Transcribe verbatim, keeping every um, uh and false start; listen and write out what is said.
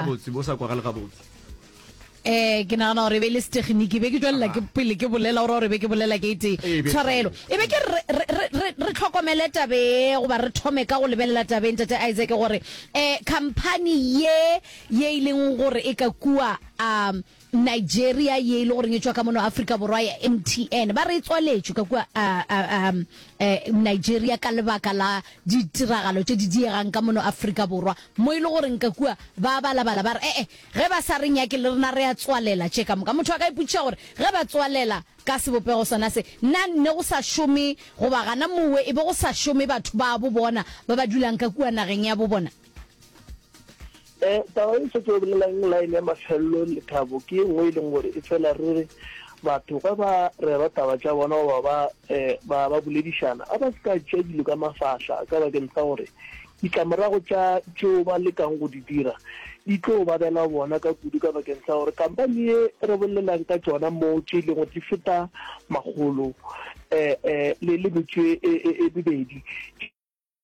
Gabotse, bo sa kwagale gabotse. Eh, ke nagana gore e be e le seteginiki, be ke tšwelela ke pele ke bolela gore gore be ke bolela ke e tee. Ee, be- Tshwarelo. E be ke re re re re re tlhokomele tabe goba re thome ka go lebelela tabeng tate Isaac gore eh company ye ye e leng gore e ka kua um Nigeria ye e le goreng e tšwa ka mono Afrika Borwa ya M T N, ba re e tswaletšwe ka kua uh, uh, um, eh, Nigeria ka lebaka la ditiragalo tše di diegang ka mono Afrika Borwa, mo e le goreng ka kua ba balabala ba re ee ge ba sa re nyake le rena re a tswalela tše ka moka. Motho a ka ipotšiša gore ge ba tswalela ka sebopego sona se, na nne go sa šome goba gana mowe e be go sa šome batho ba bo bona ba ba dulang ka kua nageng ya bo bona? um taba e setse o bolelang line ya mafelelo, Lethabo, ke e nngwe e leng gore e fela re re batho ge ba rera taba tša bona goba ba um ba ba boledišana, a ba se ka tšea dilo ka mafahla, ka bakeng sa gore ditlamorago tša tšeo ba lekang go di dira di tlo ba bela bona ka kudu, ka bakeng sa gore kampani ye re bolelang ka tšona mo tše e leng gore di feta makgolo um um le le metšo e e- e mebedi.